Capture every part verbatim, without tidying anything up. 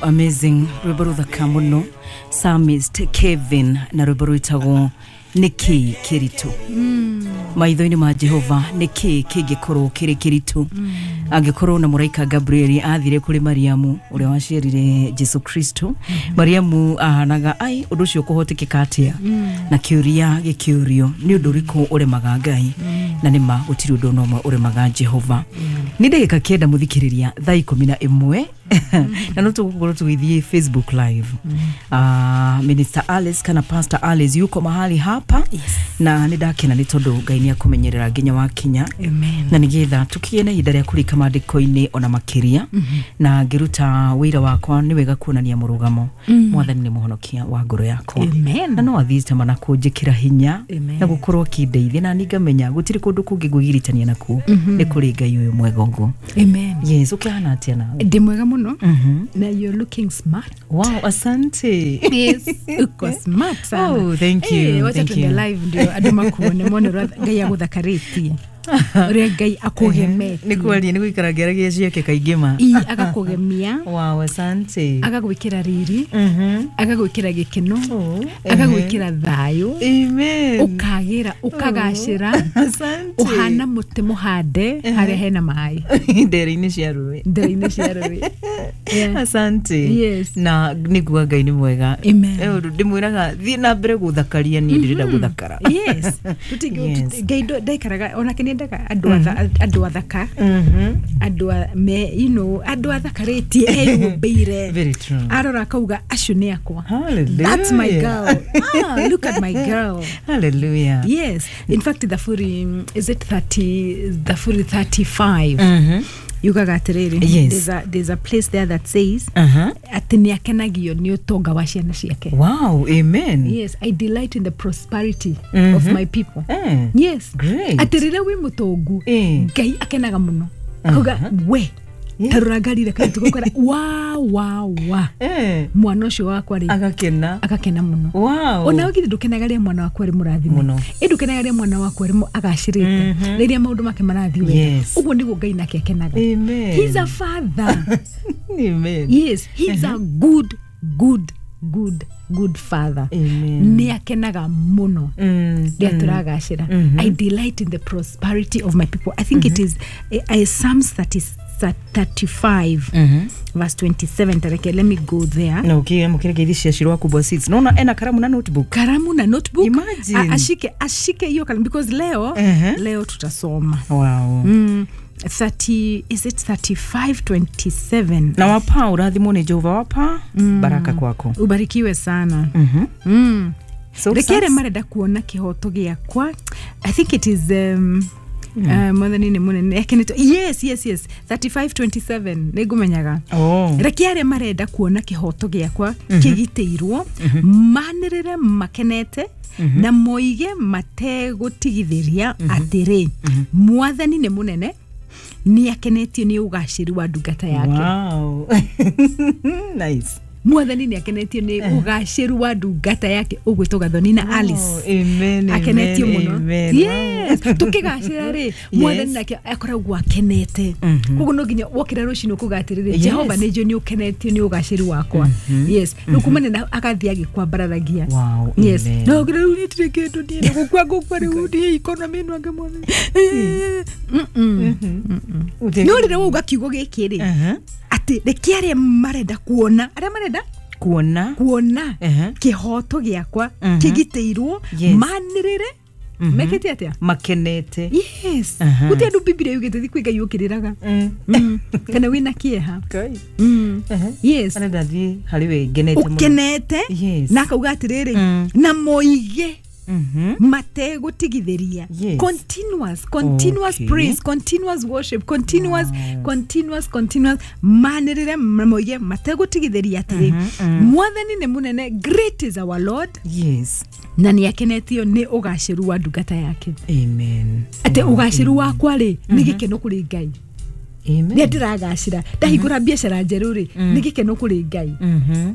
Amazing, rwĩmbo rũthaka mũno, Psalmist Kevin na rwĩmbo rwĩtagwo Nĩkĩ Kĩritũ maitho-inĩ ma Jehova. Nĩkĩ kĩngĩkorwo kĩrĩ kĩritũ angĩkorwo na mũraika Gabrieli athire kũrĩ Mariamu ũrĩa waciarire Jesu Kristo? Mariamu ahanaga ai ũndũ ũcio kũhotekeka atĩa? Na kĩũria gĩkĩũrio, nĩ ũndũ ũrĩkũ ũremaga Ngai? Na nĩma gũtirĩ ũndũ ona ũmwe ũremaga Jehova. Nĩ ndagĩka kenda mũthikĩrĩria thaa ikũmi na ĩmwe, na no tũgũkorwo tũgĩthiĩ Facebook Live. uh, Minister Alice kana Pastor Alice yuko mahali hapa. Yes. Na nĩ ndakena nĩ tondũ Ngai nĩ akũmenyerera nginya wakinya. Amen. Na nĩgetha tũkĩgĩe na ihinda rĩa kũrika maandĩko-inĩ ona makĩria, na ngĩruta wĩra wakwa nĩ wega kuonania mũrũgamo. Mwathani nĩ mũhonokia wa ngoro yakwa. Amen. Na no athiĩte mana kũnjĩkĩra hinya Amen. na gũkorwo akĩndeithia, na ningamenya gũtirĩ kũndũ kũngĩ ngwĩgiritania nakuo, nĩ kũrĩ Ngai ũyũ mwega ũguo. Amen. Yes, ũkĩhana atĩa nawe? Ndi mwega muno. Mhm. Na you're looking smart. Wow, asante. Yes, uko smart sana. Oh, thank you. Eh, wacha Thank tuende you. live ndio andũ makuone, mone ũrĩa Ngai agũthakarĩtie, ũrĩa Ngai akũgemetie. Nĩ kwaria nĩ gũikara ngĩaragia ciake kaingĩ ma. Ii, agakũgemia. Wow, asante. Agagwĩkĩra riri, Mhm. agagwĩkĩra gĩkeno, Oh, agagwĩkĩra thayũ, Amen. ũkagĩra, ũkagacĩra. Asante. Ũhana mũtĩ mũhande harĩa hena maĩ. Ndere-inĩ cia rũĩ. Ndere-inĩ cia rũĩ. Yeah. Asante. Yes. Na nĩguo Ngai nĩ mwega. Amen. Eh, ũndũ ndĩmwĩraga, thiĩ na mbere gũthakaria, niĩ ndĩrenda gũthakara. Yes. Tuti- Yes. tuti- Ngai ndo- ndaikaraga onake nĩendaga andũ atha- andũ athaka, Mhm. andũ a- me you know andũ athakarĩtie, eyũmbĩire. Very true. Arora akauga, acio nĩ akwa. Hallelujah. That's my girl. Ah, look at my girl. Hallelujah. Yes, in fact thaburi, mm, is it thirty, thaburi thirty-five Mhm. yugaga atĩrĩrĩ, Yes. there's a, there's a place there that says Uh-huh. atĩ nĩ akenagio nĩ ũtonga wa ciana ciake. Wow, amen. Yes, I delight in the prosperity Mhm. of my people. Eh. Yes. Great. Atĩ rĩrĩa wĩ mũtongu, Eh. Ngai akenaga mũno, akauga, we Yeah. tarora ngarire kaitugokora wa wa wa Eh. mwana ũcio wakwa rĩ, Agakena. agakena mũno. Wow. Ona githĩ ndũkenaga rĩrĩa mwana waku arĩ mũrathime? Mũno. Ĩ ndũkenaga rĩrĩa mwana waku arĩ agacĩrĩte, rĩrĩa maũndũ make marathiĩ wega? Yes. Ũguo nĩguo Ngai nake akenaga. Amen. He's a father. Amen. Yes, he's a good, good, good, good father. Amen. Nĩ akenaga mũno Mm. rĩrĩa tũragacĩra. I delight in the prosperity of my people. I think it is eh, eh, Psalms thirty, thirty-five Mhm. verse twenty-seven. Tareke, let me go there. Na ũkĩamũkĩra ngeithi cia Shiro wa Kubwa Seeds. Naona ena karamu na notebook. Karamu na notebook. Imagine. A- ashike ashike hiyo kalamu because leo, Mhm. leo tutasoma. Wow. mm, thirty, is it thirty-five twenty-seven? Na wapa ũrathimwo nĩ Jehova, wapa baraka kwako. Ubarikiwe sana. Mhm. mm. So Reke arĩa sasa- marenda kuona kĩhoto gĩakwa. I think it is um, Uh, mwathani nĩ mũnene akenetwo. Yes, yes, yes, thirty-five twenty-seven, nĩ ngũmenyaga. Oh. Reke arĩa marenda kuona kĩhoto gĩakwa kĩgitĩirwo manĩrĩre makenete na moige mategũtigithĩria atĩrĩ, Mwathani nĩ mũnene, nĩ akenetio nĩ ũgacĩru wa ndungata yake. Wow. Nice. Mwathani nĩ akenetio nĩ ũgacĩru wa ndungata yake, ũgwĩtwo Gathoni na Alice. Oh, amen, Akenetio amen, mũno. amen. Yes, tukĩgacĩra rĩ, Mwathani nake akoragwo akenete. Koguo no nginya wokĩra rũcinĩ ũkuga atĩrĩrĩ, Yes. Jehova, nĩ njũĩ nĩ ũkenetio nĩ ũgacĩru wakwa. Yes, rĩu kumana na agathiĩ agĩkwambararagia. Wow, Yes. amen. No rĩu niĩ ndirĩ kĩndũ, niĩ nĩ gũkua ngũkua rĩu, niĩ economy ĩno angĩ Mwathani. Ũte- No rĩrĩa wauga kiugo gĩkĩ rĩ, Uh-huh. atĩ reke arĩa marenda kuona, arĩa marenda Kuona. kuona Uh-huh. kĩhoto gĩakwa Mhm. kĩgitĩirwo Yes. manĩrĩre mekĩte atĩa? Makenete. Yes. Aha. Gũtirĩ andũ Bibilia yugĩte thi kwĩ Ngai ũkĩrĩraga. Mm. Mm. kana wĩna kĩeha. Ngai. Mm. Uh-huh. Yes. Arenda thiĩ harĩ we ngenete mũno. Ũkenete. Yes. Na akauga atĩrĩrĩ, Mm. na moige Mhm. mategũtigithĩria. Yes. Continuous, continuous Okay. praise, continuous worship, continuous, continuous, continuous. Manĩrĩre na moige mategũtigithĩria atĩrĩ, Mwathani nĩ mũnene. Great is our Lord. Yes. Na nĩ akenetio nĩ ũgacĩru wa ndungata yake. Amen. Atĩ ũgacĩru wakwa rĩ, nĩ gĩkeno kũrĩ Ngai. Amen. Rĩrĩa ndĩragacĩra, ndahingũra biacara njerũ rĩ, nĩ gĩkeno kũrĩ Ngai. Mhm.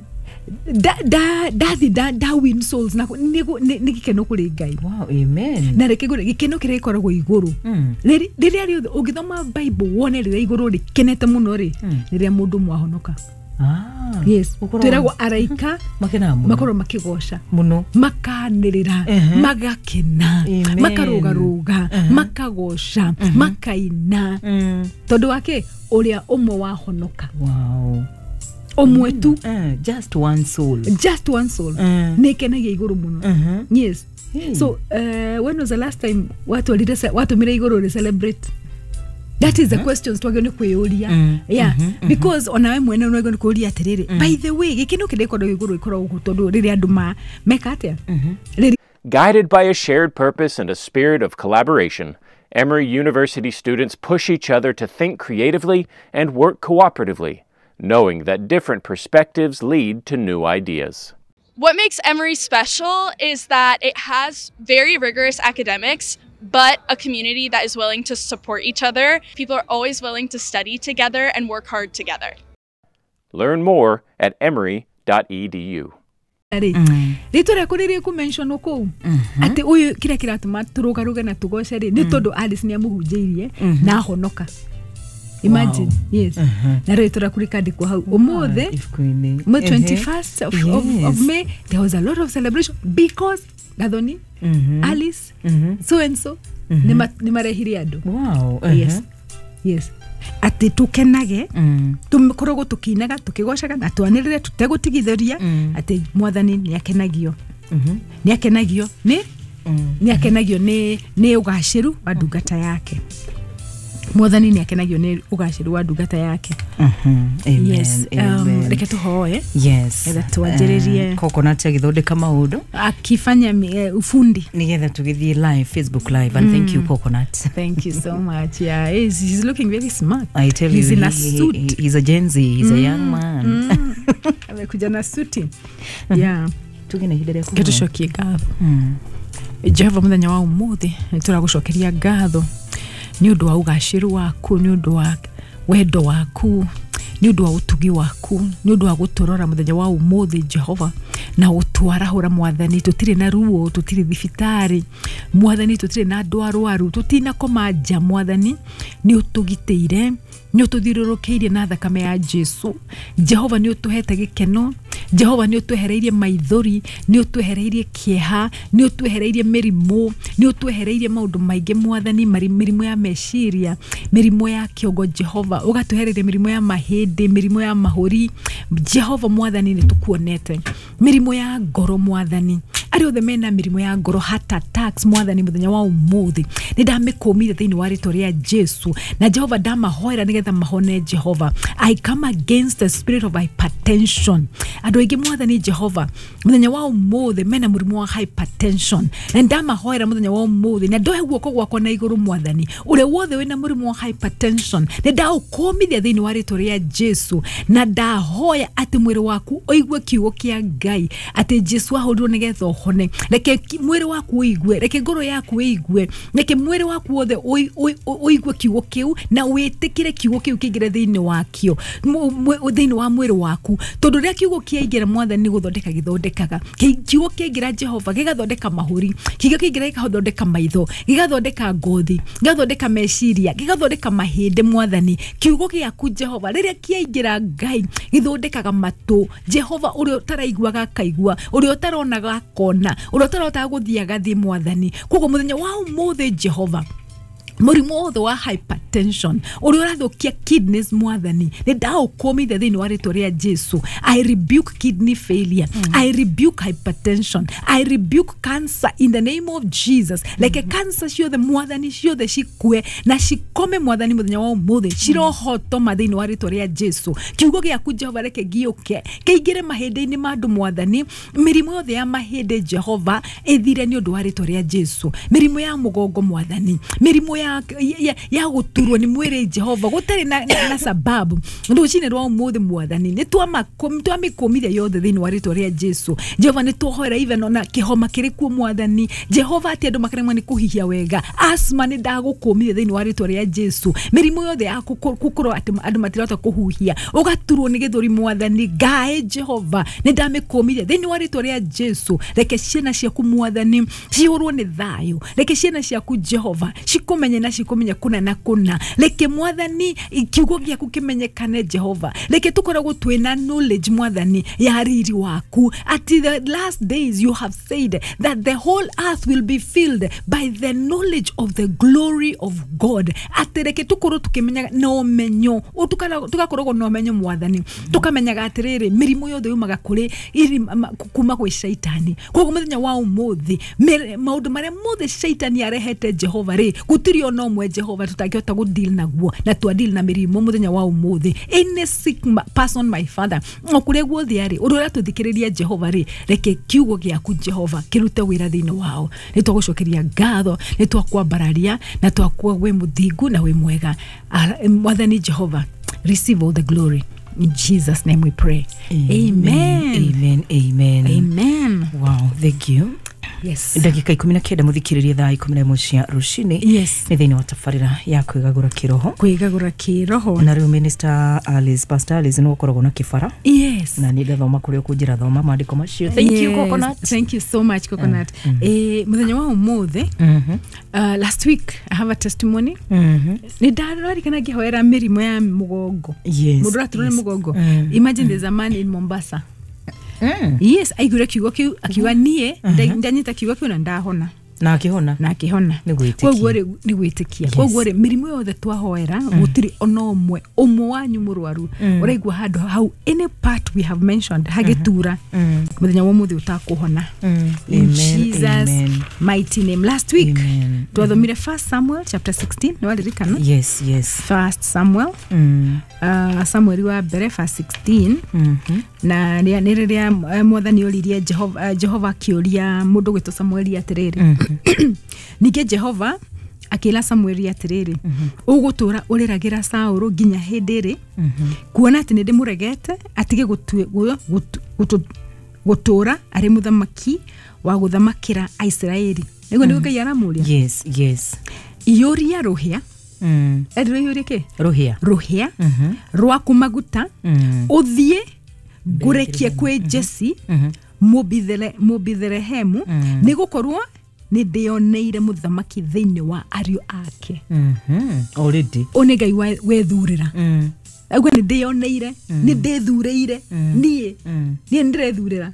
Nda- nda- ndathi nda nda win souls na nĩ nĩ- nĩ gĩkeno kũrĩ Ngai. Wow, amen. Na reke ngwĩre, gĩkeno kĩrĩa gĩkoragwo igũrũ, Mm. Rĩrĩ- rĩrĩa rĩothe ũngĩthoma Bible wone rĩrĩa igũrũ rĩkenete mũno rĩ, rĩrĩa mũndũ mwahonoka. Ah. Yes, Ũkoragwo- twĩragwo araika Makenaga mũno. makorwo makĩgoca Mũno. makanĩrĩra Ehe. magakena Amen. makarũgarũga makagoca makaina Mm. tondũ wake ũrĩa ũmwe wahonoka Wow. ũmwe tu Eh, just one soul. just one soul Mm. nĩ ĩkenagia igũrũ mũno Mhm. yes Hey. so uh, when was the last time watwarire ce- watũmire igũrũ rĩ celebrate that is the questions twagĩrĩirwo nĩ kwĩyũria Mm, yeah because onawe mwene nĩ wagĩrĩirwo nĩ kwĩyũria atĩrĩrĩ by the way gĩkeno kĩrĩa gĩkoragwo igũrũ gĩkoragwo gũkũ tondũ rĩrĩa andũ ma meka atĩa rĩrĩa Guided by a shared purpose and a spirit of collaboration, Emory University students push each other to think creatively and work cooperatively, knowing that different perspectives lead to new ideas. What makes Emory special is that it has very rigorous academics, but a community that is willing to support each other. People are always willing to study together and work hard together. Learn more at emory dot e d u. rĩ rĩtwa rĩaku rĩrĩ kũmentionwo kũu atĩ ũyũ kĩrĩa kĩratũma tũrũgarũge na tũgoce rĩ nĩ tondũ Alice nĩ amũhunjĩirie na ahonoka. Imagine. Yes. Na rĩtwa rĩaku rĩkandĩkwo hau ũmũthĩ Ibuku-inĩ. May Ehe. twenty-first of, of, of Yes. May, there was a lot of celebration because Gathoni, Alice, so and so, nĩ marehire andũ. Wow. Yes. Yes. Atĩ tũkenage Mm. tũkoragwo tũkĩinaga tũkĩgocaga na twanĩrĩre tũtegũtigithĩria atĩ mwathani nĩ akenagio nĩ akenagio nĩ nĩ akenagio nĩ nĩ ũgacĩru wa ndungata yake. Mwathani nĩ akenagio nĩ ũgacĩru wa ndungata yake. Mhm. Amen. Yes. Um, Amen. reke tũhoe Yes. Getha twanjĩrĩrie. Eh, Coconut agĩthondeka maũndũ akifanya mi- eh, ufundi. nĩgetha tũgĩthiĩ live Facebook live and thank you Coconut. Thank you so much. Yeah, he's, he's looking very smart. I tell he's you in a he, he, suit. he, he's a Gen Z, he's a young man. Mm. Amekuja na suti. Yeah. Tuge na ihinda rĩa Reke kũhoya. tũcokie ngatho. Mm. Jehova mũthenya wa ũmũthĩ nĩ tũragũcokeria ngatho nĩ ũndũ wa ũgacĩru waku, nĩ ũndũ wa wendo waku, nĩ ũndũ wa ũtugi waku, nĩ ũndũ wa gũtũrora mũthenya wa ũmũthĩ Jehova na gũtwarahũra mwathani. Tũtirĩ na ruo, tũtirĩ thibitarĩ mwathani, tũtirĩ na andũ arwaru, tũtinakoma nja mwathani, nĩ ũtũgitĩire, nĩ ũtũthiũrũrũkĩirie na thakame ya Jesu. Jehova nĩ ũtũhete gĩkeno, Jehova nĩ ũtwehereirie maithori, nĩ ũtwehereirie kĩeha, nĩ ũtwehereirie mĩrimũ, nĩ ũtwehereirie maũndũ maingĩ mwathani, mari- mĩrimũ ya meciria, mĩrimũ ya kĩongo Jehova, ũgatwehereria mĩrimũ ya mahĩndĩ, mĩrimũ ya mahũri Jehova mwathani, nĩ tũkuonete mĩrimũ ya ngoro mwathani, arĩa othe mena mĩrimũ ya ngoro, heart attacks mwathani, mũthenya wa ũmũthĩ nĩ ndamĩkũmire thĩinĩ wa rĩtwa rĩa Jesu, na Jehova ndamahoera nĩgetha mahone Jehova. I come against the spirit of hypertension. Andũ aingĩ mwathani Jehova mũthenya wa ũmũthĩ mena mũrimũ wa hypertension, na ndamahoera mũthenya wa ũmũthĩ na ndohe guoko gwakwa na igũrũ mwathani, ũrĩa wothe wĩna mũrimũ wa hypertension nĩ ndaũkũmithia thĩinĩ wa rĩtwa rĩa Jesu, na ndahoya atĩ mwĩrĩ waku ũigue kiugo kĩa Ngai atĩ Jesu ahũrirwo nĩgetha ũhone. Reke ki- mwĩrĩ waku ũigue, reke ngoro yaku ĩigue, reke mwĩrĩ waku wothe ũi- ũi- ũigue kiugo kĩu na wĩtĩkĩre kiugo kĩu kĩingĩre thĩinĩ wakĩo, mũ- mũ- thĩinĩ wa mwĩrĩ waku, tondũ rĩrĩa kiugo kĩaingĩra mwathani nĩ gũthondeka gĩthondekaga. Kĩ- kiugo kĩaingĩra Jehova gĩgathondeka mahũri, kiugo kĩaingĩra gĩgathondeka maitho, gĩgathondeka ngothi, gĩgathondeka meciria, gĩgathondeka mahĩndĩ mwathani. Kiugo gĩaku Jehova rĩrĩa kĩaingĩra Ngai gĩthondekaga matũ Jehova, ũrĩa ũtaraiguaga akaigua, ũrĩa ũtaronaga akona, ũrĩa ũtarotaga gũthiĩ agathiĩ mwathani. Koguo mũthenya wa ũmũthĩ Jehova, mũrimũ wothe wa hypertension ũrĩa ũrathũkia kidneys mwathani, nĩ ndaũkũmithia thĩinĩ wa rĩtwa rĩa Jesu. I rebuke kidney failure, I rebuke hypertension, I rebuke cancer in the name of Jesus. Reke cancer ciothe mwathani ciothe cikue na cikome mwathani mũthenya wa ũmũthĩ, cirohotoma thĩinĩ wa rĩtwa rĩa Jesu. Kiugo gĩaku Jehova reke gĩũke kĩingĩre mahĩndĩ-inĩ ma andũ mwathani, mĩrimũ yothe ya mahĩndĩ Jehova ĩthire nĩ ũndũ wa rĩtwa rĩa Jesu. Mĩrimũ ya mũgongo mwathani, mĩrimũ ya, ya, ya gũturwo nĩ mwĩrĩ Jehova gũtarĩ na, na, na sababu, rũcinĩ rwa ũmũthĩ mwathani nĩ twamĩkũmithia yothe thĩinĩ wa rĩtwa rĩa Jesu. Jehova nĩ twohoera even ona kĩhoma kĩrĩ kuo mwathani Jehova, atĩ andũ makaremwo nĩ kũhihia wega, asthma nĩ ndagũkũmithia thĩinĩ wa rĩtwa rĩa Jesu. Mĩrimũ yothe ya gũkorwo atĩ andũ matirahota kũhuhia, ũgaturwo nĩ gĩthũri mwathani, ngaĩ Jehova nĩ ndamĩkũmithia thĩinĩ wa rĩtwa rĩa Jesu. Reke ciana ciaku mwathani cihũrwo nĩ thayũ, reke ciana ciaku Jehova cikũmenye tũmenye na cikũmenya kũna na kũna. Reke Mwathani kiugo gĩaku kĩmenyekane Jehova. Reke tũkoragwo twĩna knowledge Mwathani ya riri waku. At the last days you have said that the whole earth will be filled by the knowledge of the glory of God. Atĩ reke tũkorwo tũkĩmenyaga na ũmenyo, tũgakoragwo na ũmenyo Mwathani, tũkamenyaga atĩrĩrĩ mĩrimũ yothe yumaga kũrĩ kuma gwĩ shaitani. Koguo mũthenya wa ũmũthĩ maũndũ marĩa mothe shaitani arehete Jehova rĩ, gũtirĩ ona ũmwe Jehova tũtangĩhota gũ deal naguo, na twa deal na mĩrimũ mũthenya wa ũmũthĩ. Any sick person, my father, o kũrĩa guothe arĩ, ũndũ ũrĩa tũthikĩrĩria Jehova rĩ, reke kiugo gĩaku Jehova kĩrute wĩra thĩinĩ wao. Nĩ twagũcokeria ngatho, nĩ twakwambararia na twakuwa wĩ mũthingu na wĩ mwega. Mwathani Jehova, receive all the glory. In Jesus' name we pray. Amen. Amen. Amen. Amen. Wow, thank you. Yes. Ndagika ikumi na kenda muthikiririe thaa ikumi na ĩmwe cia rũcinĩ. Yes. Nĩ thĩinĩ wa tabarĩra ya kwĩgagũra kĩroho. Kwĩgagũra kĩroho. Na rĩu Minister Alice, Pastor Alice nĩ ũkoragwo na kĩbara. Yes. Na nĩ ndathoma kũrĩa ũkũnjĩra thoma maandĩko macio. Thank yes. you Coconut. Thank you so much Coconut. Mm -hmm. Eh, mũthenya wa ũmũthĩ, mm -hmm. uh, last week I have a testimony. Mm -hmm. Nĩ ndararikana ngĩhoera mĩrimũ ya mũgongo. Yes. Mũndũ ũraturwo nĩ yes. mũgongo. Mm. Imagine there's a man in Mombasa. Mm. Yes, aigure kiugo kiu akiuga nie ndanyita kiugo kiu na ndahona. Na akĩhona. Na akĩhona. Nĩ gwĩtĩkia. Koguo rĩ nĩ gwĩtĩkia. Koguo rĩ mĩrimũ yothe twahoera gũtirĩ ona ũmwe ũmwe wanyu mũrwaru ũraigua handũ hau any part we have mentioned hagĩtura mũthenya wa ũmũthĩ ũtakũhona. In Jesus mighty name. Last week twathomire First Samuel chapter sixteen, nĩ waririkana? Yes, yes. First Samuel. Mm. Uh, Samuel wa mbere verse sixteen. Mhm. Na nĩ rĩrĩa Mwathani oririe Jehova, Jehova akĩũria mũndũ gwĩtwo Samueli atĩrĩrĩ. Ningĩ Jehova akĩra Samueli atĩrĩrĩ, ũgũtũra ũrĩragĩra Saũlũ nginya hĩndĩ ĩrĩ, kuona atĩ nĩndĩmũregete atige gũtũra arĩ mũthamaki wa gũthamakĩra Aisiraeli. Nĩguo nĩguo Ngai aramũria. Yes, yes. Iyũria rũhĩa. Mm. Erirwo iyũrie kĩ? Rũhĩa. Rũhĩa rwaku maguta, ũthiĩ ngũrekie kwĩ Jesse Mũbithelehemu, nĩ gũkorwo nĩ ndĩoneire mũthamaki thĩinĩ wa ariũ ake. Mhm. Already. Ũ nĩ Ngai wethurĩra. Mm. Auga nĩ ndĩoneire, nĩ ndĩthurĩire, niĩ niĩ nĩ ndĩrethurĩra.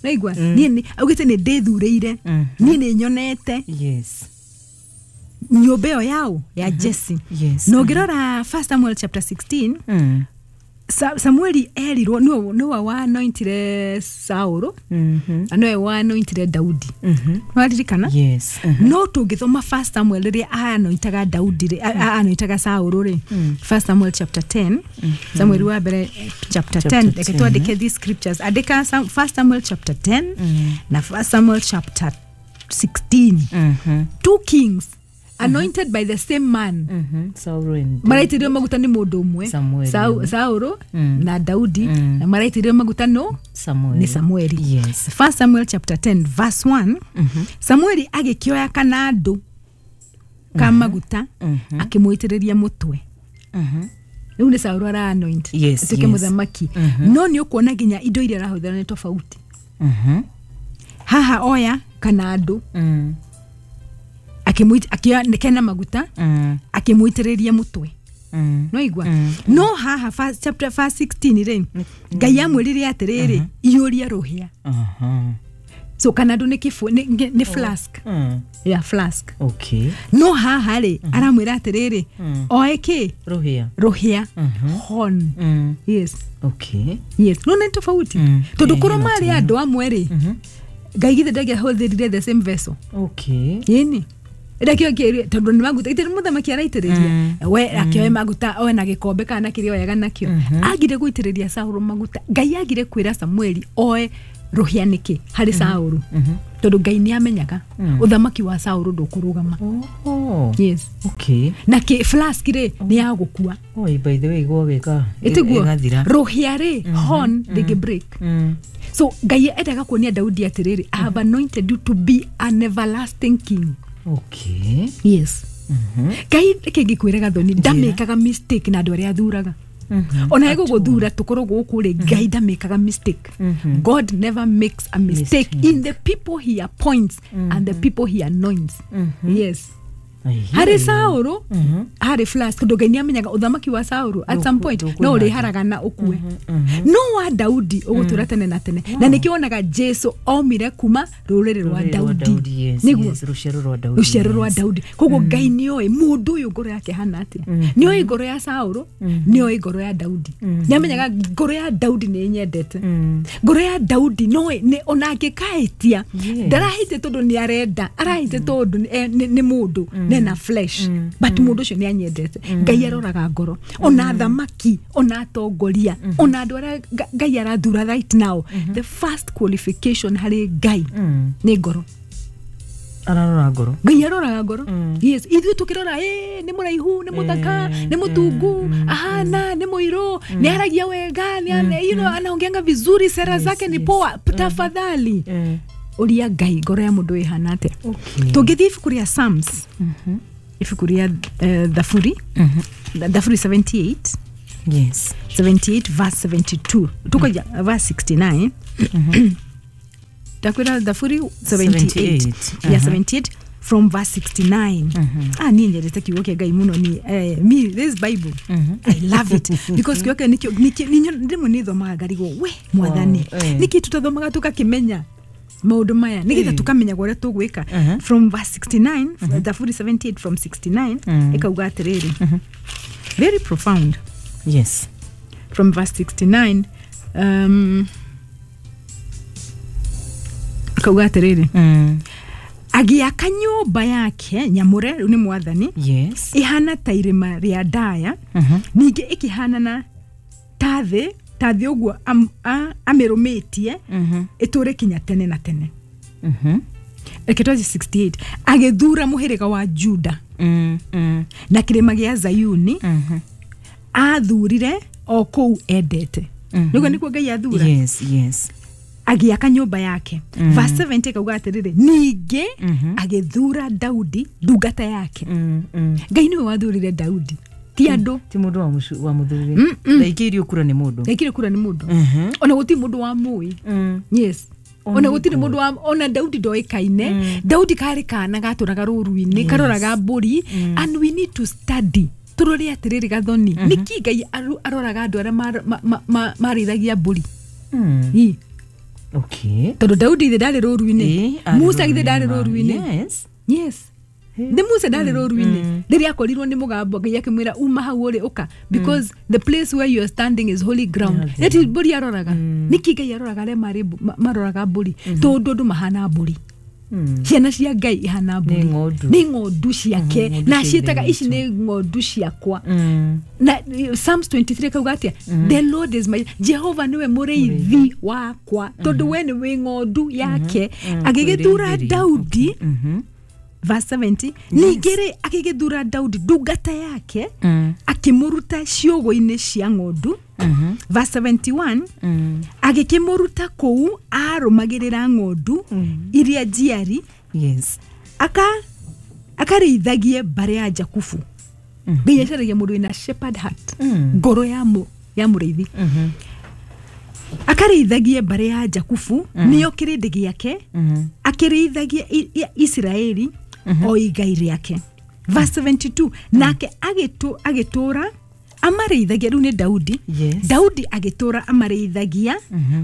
Naigua? Niĩ augĩte nĩ ndĩthurĩire, niĩ nĩ nyonete. Yes. Nyũmba ĩyo yao ya Jesse. Yes. Na ũngĩrora First Samuel chapter sixteen, Mm. Sa Samueli erirwo niwe niwe wa anointire Saũlũ, Mhm. na niwe wa anointire Daudi. Mhm. Nĩwaririkana? Yes. Mm-hmm. No tũngĩthoma First Samuel rĩrĩa anointaga Daudi rĩ, anointaga Saũlũ rĩ, First Samuel chapter ten, Samuel wa mbere chapter ten, reke twandĩke these scriptures. Andĩka First Samuel chapter ten na First Samuel chapter sixteen. Mhm. Two kings anointed by the same man. Mhm. Saũlũ and Maraitĩrĩrio maguta nĩ mũndũ ũmwe, Saũlũ na Daudi, na maraitĩrĩrio maguta no Samuel. nĩ Samueli. Yes. First Samuel chapter ten verse one. Samueli agĩkĩoya kanandũ ka maguta akĩmũitĩrĩria mũtwe. Rĩu nĩ Saũlũ ara anoint Yes, atuĩke yes. mũthamaki. No nĩ ũkuona nginya indo iria arahũthĩra nĩ tofauti. Mhm. Haha oya kanandũ Mm. akĩmũit akĩoya kena maguta Mm. akĩmũitĩrĩria mũtwe. Mm. No igua? No haha first, chapter verse sixteen rĩ, Ngai amwĩrire atĩrĩrĩ, iyũria rũhĩa. Aha. So kanandũ nĩ kĩbũ nĩ nĩ flask. Mm. Yeah, flask. Okay. No haha rĩ aramwĩra atĩrĩrĩ, oe kĩ? Rũhĩa. Rũhĩa. Horn. Mm. Yes. Okay. Yes. No nĩ tofauti. Mm. Tondũ Eh, korwo hena marĩ andũ amwe rĩ, Ngai githĩ ndangĩahũthĩrire the same vessel. Okay. Ĩni. Ndakĩo kĩrĩ tondũ nĩ maguta itĩrĩ mũthamaki araitĩrĩria. We akĩoe maguta oe na gĩkombe kana kĩrĩa oyaga nakĩo. Agire gũitĩrĩria Saũlũ maguta. Ngai agire kwĩra Samueli oe rũhĩa nĩkĩ harĩ Saũlũ. Tondũ Ngai nĩ amenyaga ũthamaki wa Saũlũ ndũkũrũgama. Oh. Yes. Okay. Na kĩ flask rĩ nĩ ya gũkua. Oh, by the way gwagĩka. Ĩtiguo Ĩgathira. rũhĩa rĩ horn ndĩngĩ break. Mm. So Ngai endaga kuonia Daudi atĩrĩrĩ, I have anointed you to be an everlasting king. Okay. Yes. Ngai reke ngĩkwĩre Gathoni ndamĩkaga mistake na andũ arĩa athuraga. Ona egũgũthura tũkorwo gũkũ rĩ, Ngai ndamĩkaga mistake. God never makes a mistake in the people he appoints and the people he anoints. Yes. Harĩ Saũlũ harĩ flask, tondũ Ngai nĩamenyaga ũthamaki wa Saũlũ at some point no ũrĩharagana ũkue, no wa Daudi ũgũtũra tene na tene. Na nĩkĩo wonaga Jesu omire kuma rũrĩrĩ rwa Daudi, nĩguo rũciaro rwa Daudi, rũciaro rwa Daudi. Koguo Ngai nĩoĩ mũndũ ũyũ ngoro yake hana atĩa, nĩoĩ ngoro ya Saũlũ, nĩoĩ ngoro ya Daudi, nĩamenyaga ngoro ya Daudi nĩ ĩnyendete, ngoro ya Daudi no ona angĩkahĩtia ndarahĩtie tondũ nĩ arenda, arahĩtie tondũ nĩ mũndũ nena flesh, but mũndũ ũcio nĩ anyendete. Ngai aroraga ngoro, ona athamaki, ona atongoria, ona andũ arĩa Ngai arathura right now, the first qualification harĩ Ngai nĩ ngoro. Ararora ngoro, Ngai aroraga ngoro. Yes, ithuĩ tũkĩrora ĩ nĩ mũraihu, nĩ mũthaka, nĩ mũtungu, ahana nĩ mũirũ, nĩ aragia wega, nĩ you know anaongeanga vizuri, sera zake ni poa, tafadhali ũria Ngai ngoro ya mũndũ ĩhana atĩa. Tũngĩthiĩ ibuku rĩa Psalms, ibuku rĩa Thaburi, Thaburi seventy-eight, yes, seventy-eight verse seventy-two, tukaja verse sixty-nine. Ndakwĩra Thaburi seventy-eight, yeah, seventy-eight from verse sixty-nine. Ah, niĩ nyendete kiugo kĩa Ngai mũno niĩ. Eh, me this Bible, I love it because kiugo kĩa nĩkĩo rĩmwe nĩ thomaga ngarigwo, we Mwathani, nĩkĩ tũtathomaga tũgakĩmenya maũndũ maya nĩgetha tũkamenya ũrĩa tũgwĩka. From verse sixty-nine, Thaburi seventy-eight from sixty-nine, ĩkauga atĩrĩrĩ, very profound. Yes, from verse sixty-nine, um, ĩkauga atĩrĩrĩ, agĩaka nyũmba yake nyamũre, rĩu nĩ Mwathani, yes, ĩhana ta irĩma rĩa ndaya, ningĩ ĩkĩhanana ta thĩ, ta thĩ ũguo amĩrũmĩtie, ĩtũre kinya tene na tene. Reke twaje sixty-eight, agĩthura mũhĩrĩga wa Juda na kĩrĩma gĩa Zayuni, athurire o kũu endete. Nĩguo nĩkuo Ngai athura. Yes, yes. Agĩaka nyũmba yake. Verse seventy ĩkauga atĩrĩrĩ, ningĩ agĩthura Daudi ndungata yake. Ngai nĩwe wathurire Daudi, ti andũ, ti mũndũ wa mũthurire. Ndaikĩirio kura nĩ mũndũ, ndaikĩirio kura nĩ mũndũ, ona gũtirĩ mũndũ wa mũĩ. Yes, ona gũtirĩ mũndũ wa, ona Daudi ndoĩkaine. Daudi karĩ kana gatũraga rũru-inĩ, karoraga mbũri. And we need to study, tũrore atĩrĩrĩ Gathoni, nĩkĩ Ngai aroraga andũ arĩa marĩithagia mbũri? Okay, tondũ Daudi ithe ndarĩ rũru-inĩ, Musa ithe ndarĩ rũru-inĩ. Yes, yes, nĩ Musa ndarĩ rũru-inĩ rĩrĩa akorirwo nĩ mũgambo, Ngai akĩmwĩra uma hau ũrĩ ũka, because the place where you are standing is holy ground. Nĩ mbũri aroraga. Nĩkĩ Ngai aroraga arĩa marĩ maroraga mbũri? Tondũ andũ mahana mbũri, ciana cia Ngai ihana mbũri, nĩ ng'ondu ciake, na ciĩtaga ici nĩ ng'ondu ciakwa. Na Psalms twenty-three kauga atĩa? The Lord is my, Jehova nĩwe mũrĩithi wakwa, tondũ we nĩwe ng'ondu yake. Agĩgĩthura Daudi, verse seventy, ningĩ rĩ agĩgĩthura Daudi ndungata yake, akĩmũruta ciũgũ-inĩ cia ng'ondu. Verse seventy-one, agĩkĩmũruta kũu arũmagĩrĩra ng'ondu iria njiari, yes, aka akarĩithagie mbarĩ ya Jakubu. Ngai acaragia mũndũ wĩna shepherd heart, ngoro ya mũ ya mũrĩithi, akarĩithagie mbarĩ ya Jakubu, nĩyo kĩrĩndĩ gĩake, akĩrĩithagie Isiraeli o igai rĩake. Verse seventy-two, nake agĩtũra amarĩithagia, rĩu nĩ Daudi. Daudi agĩtũra amarĩithagia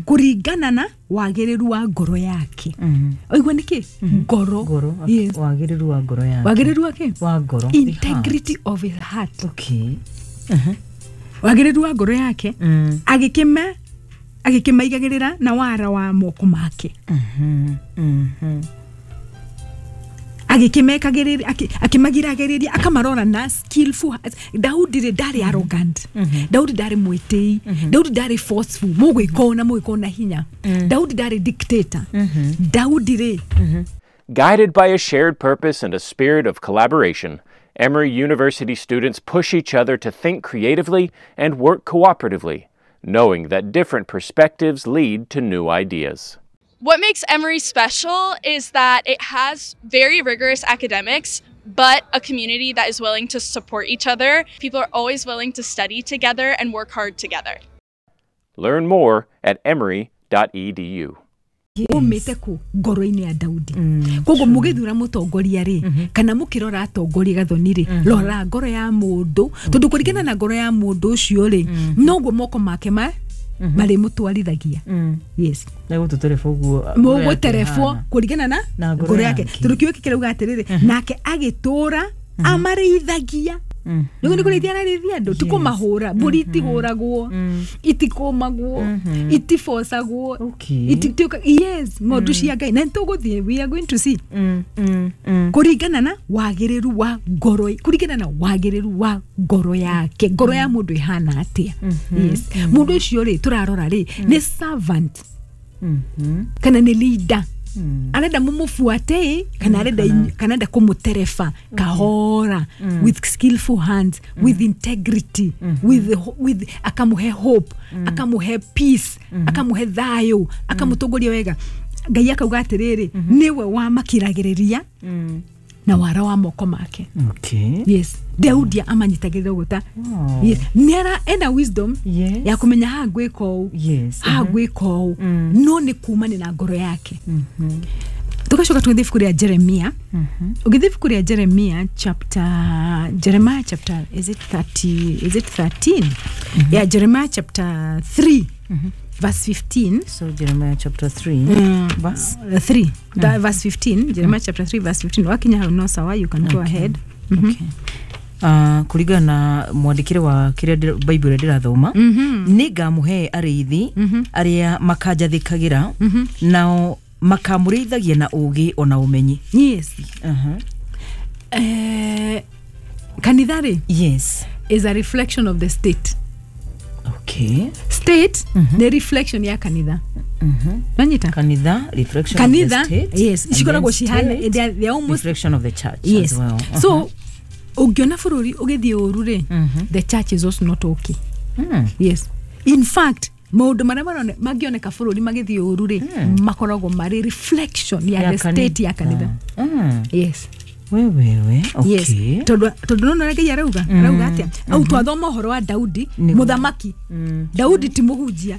kũringana na wagĩrĩru wa ngoro yake. Oigua nĩkĩ? Ngoro. Yes. Wagĩrĩru wa ngoro yake. Wagĩrĩru wake? Wa ngoro. Integrity of his heart. Okay. Wagĩrĩru wa ngoro yake, agĩkĩma agĩkĩmaigagĩrĩra na wara wa moko make. Agĩkĩmekagĩrĩria, akĩmagiragĩrĩria, akamarora na skillful. Daudi rĩ ndarĩ arrogant, Daudi ndarĩ mwĩtĩi, Daudi ndarĩ forceful, mũgwĩka na mũgwĩka na hinya, Daudi ndarĩ dictator. Daudi rĩ. Guided by a shared purpose and a spirit of collaboration, Emory University students push each other to think creatively and work cooperatively, knowing that different perspectives lead to new ideas. What makes Emory special is that it has very rigorous academics, but a community that is willing to support each other. People are always willing to study together and work hard together. Learn more at emory dot e d u. Umĩte ku ngoro-inĩ ya Daudi. Koguo mũgĩthura mũtongoria rĩ, kana mũkĩrora atongoria Gathoni rĩ, rora ngoro ya mũndũ, tondũ kũringana na ngoro ya mũndũ ũcio rĩ, noguo moko make ma marĩmũtwarithagia. Yes, na gũtũtereba ũguo mũgũterebwo kũringana na Na ngoro ngoro yake, yake. Tondũ kiugo gĩkĩ kĩrauga atĩrĩrĩ, nake agĩtũra amarĩithagia. Nĩguo nĩ kũrĩithia ararĩithia andũ, ti kũmahũra. Mbũri itihũragwo, itikũmagwo, itibocagwo. Okay. Itituĩka- yes, ng'ondu cia Ngai, na nĩtũgũthiĩ, we are going to see Mm, mm, mm. kũringana na wagĩrĩru wa ngoro, kũringana na wagĩrĩru wa ngoro yake. Ngoro ya mũndũ ĩhana atĩa? Yes, mũndũ ũcio rĩ tũrarora rĩ nĩ servant Mhm. kana nĩ leader arenda mumubuate, kana arenda inyu- kana arenda kumutereba kahora with skillful hands, with integrity, with, with akamuhe hope, akamuhe peace, akamuhe thayo, akamutongoria wega. Ngai akauga atiriri, niwe wamakiragĩrĩria Mm. na wara wa moko make. Okay. Yes, Daudi amanyitagĩrĩra ũguo ta Oh. yes, nĩ ara ena wisdom Yes. ya kũmenya haha ngwĩka ũũ, Yes. haha ngwĩka ũũ, no nĩ kumani na ngoro yake. Tugacoka tũgĩthiĩ ibuku rĩa Jeremia. Ũgĩthiĩ ibuku rĩa Jeremia chapter, Jeremiah chapter, is it thirty, is it thirteen? Yeah, Jeremiah chapter three verse fifteen. So Jeremiah chapter three verse Uh, three That verse fifteen. Jeremiah chapter three verse fifteen. Wakinya hau no sawa, you can go ahead. Okay. Uh, kũringana na mwandĩkĩre wa kĩrĩa ndĩra- Bible ĩrĩa ndĩrathoma, nĩ ngamũhe arĩithi arĩa makanjathĩkagĩra, nao makamũrĩithagia na ũũgĩ ona ũmenyi. Yes. uh-huh. Eh, kanitha rĩ yes is a reflection of the state. Okay. State nĩ reflection ya kanitha. Nanyita? Kanitha reflection Kanitha, of the state, yes, and cikoragwo then cihana, state, they are, they are almost reflection of the church yes as well. So ũngĩona bũrũri ũgĩthiĩ ũru rĩ, the church is also not okay. Mm. Yes, in fact maũndũ marĩa marone- mangĩoneka bũrũri magĩthiĩ ũru rĩ, makoragwo marĩ reflection ya Ya the state ya kanitha. Mm. Yes. We wewe, okay. Yes, tondũ tondũ nona ũrĩa Ngai arauga, arauga atĩa au twathoma ũhoro wa Daudi? Nĩguo. Mũthamaki Daudi ti mũhunjia.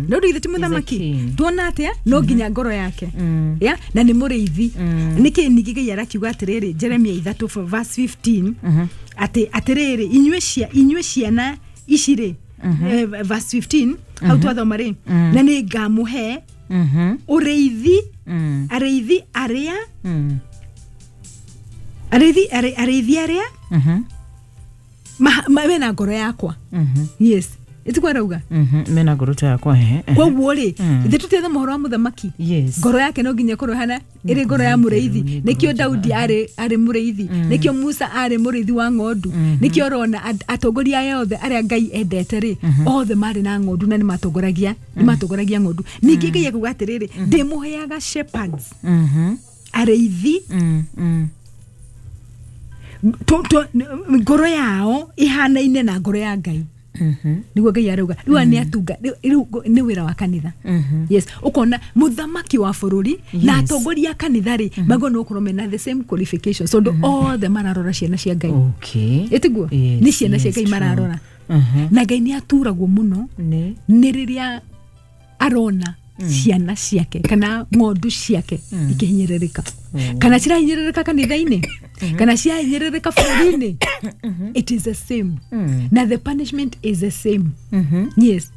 Daudi githĩ ti mũthamaki? King. Tuona atĩa? No nginya ngoro yake ya na nĩ mũrĩithi. Nĩkĩ ningĩ Ngai arakiuga atĩrĩrĩ, Jeremia ithatũ verse fifteen, atĩ atĩrĩrĩ, inyuĩ cia inyuĩ ciana ici rĩ, eh, verse fifteen hau twathoma rĩ, na nĩ ngamũhe Mhm. ũrĩithi, Mm. arĩithi arĩa Mm. arĩithi arĩ- arĩithi arĩa Mhm. ma- ma- mena ngoro yakwa. Mhm. Yes, ĩtiguo arauga? Mhm. Mena ngoro ta yakwa, ehe, ehe. Koguo rĩ, Mm. ithe tũtietha mohoro wa mũthamaki, Yes. ngoro yake no nginya ĩkorwo hana ĩrĩ ngoro ya mũrĩithi. nĩ Nĩkĩo ngoro. Daudi arĩ arĩ mũrĩithi, nĩkĩo Musa arĩ mũrĩithi wa ng'ondu, nĩkĩo ũrona at- atongoria aya othe arĩa Ngai endete rĩ, othe marĩ na ng'ondu na nĩmatongoragia nĩmatongoragia ng'ondu. Ningĩ Ngai akuga atĩrĩrĩ, ndĩmũheaga shepherds, Mhm. arĩithi Mm. Mm. tu- tu- ngoro yao ihanaine na ngoro ya Ngai. Mhm. Niguo Ngai arauga rĩu aya nĩ atunga rĩu rĩu nĩ wĩra wa kanitha. Mhm. Yes, ũkona mũthamaki wa bũrũri na Yes. atongoria a kanitha rĩ, magwo nĩ gũkorwo mena the same qualifications, tondũ othe mararora ciana cia Ngai. Okay. Ĩtiguo? Yes, Nĩ ciana cia yes, Ngai true. mararora. Mhm. Na Ngai nĩ aturagwo mũno Nĩ nĩ rĩrĩa arona ciana ciake kana ng'ondu ciake ikĩhinyĩrĩrĩka, kana cirahinyĩrĩrĩka kanitha-inĩ, kana cirahinyĩrĩrĩka bũrũri-inĩ, it is the same, na the punishment is the same. Mhm. Yes,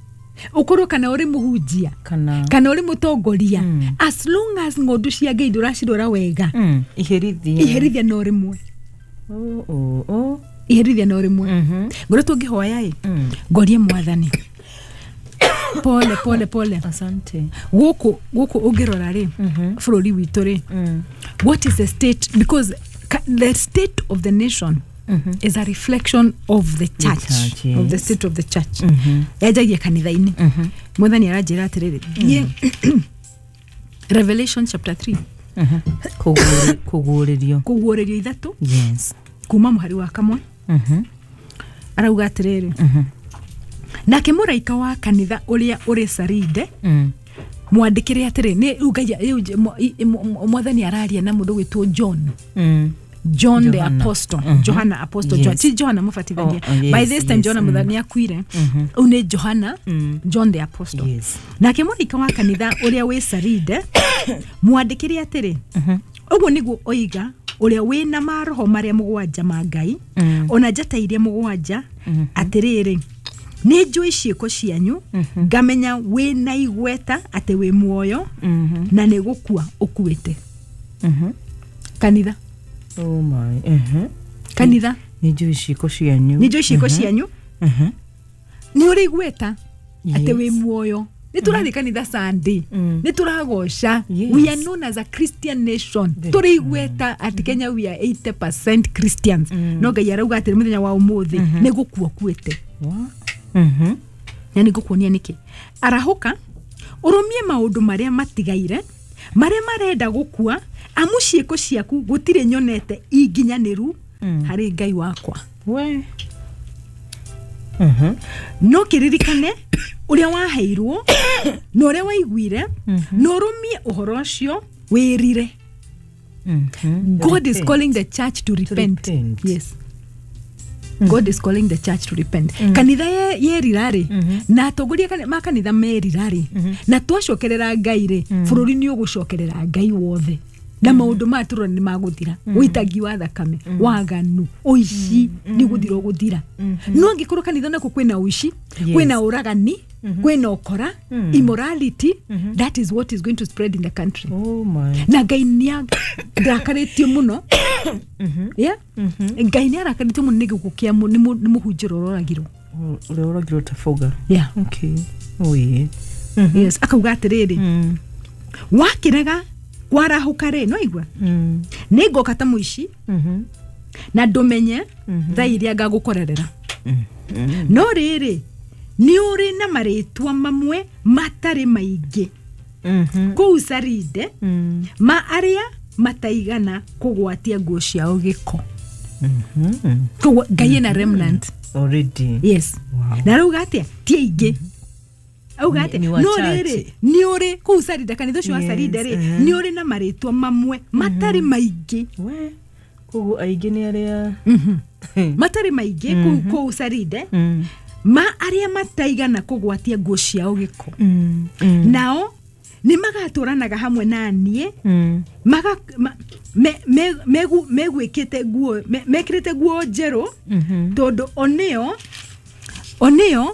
ũkorwo kana ũrĩ mũhunjia Kana kana ũrĩ mũtongoria, as long as ng'ondu cia Ngai ndũracirora wega, Mm. Iherithia. iherithia no rĩmwe. Oh, oh, oh. Iherithia no rĩmwe. Mhm. Ngoretwo ngĩhoya ĩ, Mm. ngorie Mwathani pole pole pole. Asante. Gũkũ gũkũ ũngĩrora rĩ, bũrũri witũ rĩ, Mm. what is the state? Because ka- the state of the nation is a reflection of the church, church, of the yes. state of the church yanjagia kanitha-inĩ. Mwathani aranjĩra atĩrĩrĩ, thiĩ Revelation chapter three. Mhm. Kũguũri- Kũguũrĩrio. Kũguũrĩrio ithatũ Yes. kuma mũhari wa kamwe. Mhm. Arauga atĩrĩrĩ, nake mũraika wa kanitha ũrĩa ũrĩ Saride Mm. mwandĩkĩre atĩrĩ, nĩ rĩu Ngai- rĩu nj- mwa- i- mwa- mwathani araria na mũndũ gwĩtwo John. Mm. John the Johana. Apostle. Johana Apostle. Yes. John, ti Johana Mũbatithania. Oh, oh, yes, By this time yes. Johana mm. Nĩ akuire. Ũyũ nĩ Johana, John the Apostle. Yes. Nake mũraika wa kanitha ũrĩa wĩ Saride mwandĩkĩre atĩrĩ, ũguo nĩguo oiga ũrĩa wĩna maroho marĩa mũgwanja ma Ngai ona njata iria mũgwanja, atĩrĩrĩ, nĩ njũĩ ciĩko cianyu, ngamenya wĩna igweta atĩ wĩ muoyo na nĩ gũkua ũkuĩte. Kanitha. Oh my. Mhm. Kanitha. Nĩ njũĩ ciĩko cianyu. Nĩ njũĩ ciĩko cianyu, nĩ ũrĩ igweta atĩ wĩ Yes. muoyo. Nĩ tũrathiĩ kanitha Sunday, nĩ tũragoca. Yes. We are known as a Christian nation. Tũrĩ igweta atĩ Kenya we are eighty percent Christians, no Ngai arauga atĩ mũthenya wa ũmũthĩ nĩ gũkua ũkuĩte. What? Mhm. Na nĩ ngũkuonia nĩkĩ. Arahũka, ũrũmie maũndũ marĩa matigaire marĩa marenda gũkua, amu ciĩko ciaku gũtirĩ nyonete inginyanĩru harĩ Ngai wakwa. We. Mhm. No kĩririkane ũrĩa waheirwo na ũrĩa waiguire, na ũrũmie ũhoro ũcio, wĩrire. Mhm. God is Repent. Calling the church to repent. Repent. Yes, God is calling the church to repent. Kanitha ye- yerira rĩ, na atongoria kani- ma kanitha merira rĩ, na twacokerera Ngai rĩ, bũrũri nĩ ũgũcokerera Ngai wothe, na maũndũ maya tũrona nĩ magũthira. Ũitangi wa thakame, waganu, ũici nĩ gũthira ũgũthira. No angĩkorwo kanitha nako kwĩna ũici, Yes. kwĩna ũragani, kwĩna ũkora, immorality, that is what is going to spread in the country. Oh my. Na Ngai nĩ arakarĩtio mũno. Yeah? Ngai nĩ arakarĩtio mũno nĩ gĩkuũ kĩa mũ- nĩ mũ- nĩ mũhunjĩro ũroragirwo. Ũrĩa ũragirwo ta boga. Yeah. Okay. Oh yeah. Yes, akauga atĩrĩrĩ, Mm. wakĩrega kwarahũka rĩ, no igua, Mm. nĩ ngoka ta mũici, Mhm. na ndũmenye thaa iria ngagũkorerera. No rĩrĩ, nĩ ũrĩ na marĩtwa mamwe matarĩ maingĩ Mhm. kũu Saride, Mm. ma arĩa mataigana kũgwatia nguo ciao gĩko. Mhm. Koguo Ngai ena remnant. Already. Yes. Wow. Na rauga atia? Ti aingĩ. Auga Nĩ- atia? nĩ No wachache. rĩrĩ, nĩ ũrĩ kũu Sarida, kanitha ũcio wa Yes, Sarida rĩ, mhm. nĩ ũrĩ na marĩtwa mamwe matarĩ maingĩ. We. Koguo aingĩ nĩ arĩa Matarĩ maingĩ kũu kũu Saride, Mm. ma arĩa mataigana kũgwatia nguo ciao gĩko. Mm. Mm. Nao nĩ magatũranaga hamwe na niĩ, Mm. maga ma, me, me, megu, megwĩkĩte nguo me, mekĩrĩte nguo njerũ, Mhm. tondũ onĩo onĩo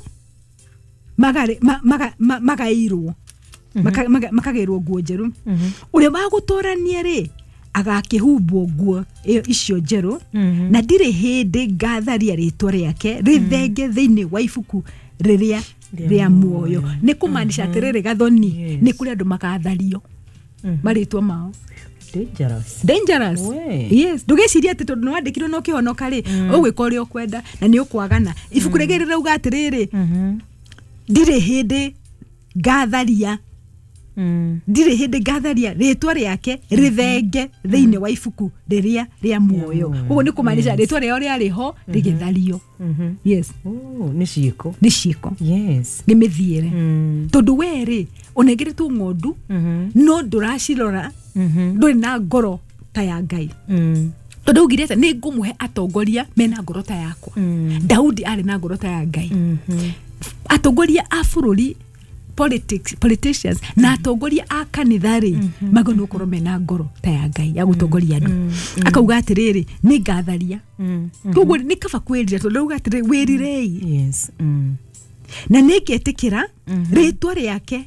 magarĩ- ma- maga- ma- magaĩirwo Maka- maga- makagĩrwo nguo njerũ. Ũrĩa wa gũtũrania rĩ, agakĩhumbwo nguo ĩyo icio njerũ, Mhm. na ndirĩ hĩndĩ ngatharia rĩtwa rĩake rĩthenge thĩinĩ wa ibuku rĩrĩa Rĩa rĩa muoyo. Nĩ kũmaanisha atĩrĩrĩ, Gathoni, Yes. nĩ kũrĩ andũ makathario marĩtwa mao. Dangerous. Dangerous. We. Yes, ndũgecirie atĩ tondũ nĩwandĩkirwo na ũkĩhonoka rĩ, ũgwĩka ũrĩa ũkwenda na nĩ ũkwagana. Ibuku rĩngĩ rĩrauga atĩrĩrĩ, Mhm. ndirĩ hĩndĩ ngatharia, Mm. ndirĩ hĩndĩ ngatharia rĩtwa rĩake rĩthenge thĩinĩ wa ibuku rĩrĩa rĩa muoyo. muoyo. Koguo nĩ kũmaanisha rĩtwa rĩao rĩarĩ ho rĩgĩthario. Mhm. Yes. Oh, nĩ ciĩko. Nĩ ciĩko. Yes. Nĩ mĩthiĩre. Mm. Tondũ we rĩ, ũnengeretwo ng'ondu, Mhm. no ndũracirora, Mhm. ndũrĩ na ngoro ta ya Ngai. Mm. Tondũ augire atĩ nĩ ngũmũhe atongoria mena ngoro ta yakwa. Mm. Daudi arĩ na ngoro ta ya Ngai. Mhm. Atongoria a bũrũri, politics, politicians na atongoria a kanitha rĩ, magĩrĩirwo nĩ gũkorwo mena ngoro ta ya Ngai ya gũtongoria andũ. Akauga atĩrĩrĩ, nĩ ngatharia. Mm. Koguo nĩ kaba kwĩrira, tondũ rauga atĩrĩrĩ, wĩrirei, Yes. Mm. na nĩ ngetĩkĩra rĩtwa rĩake,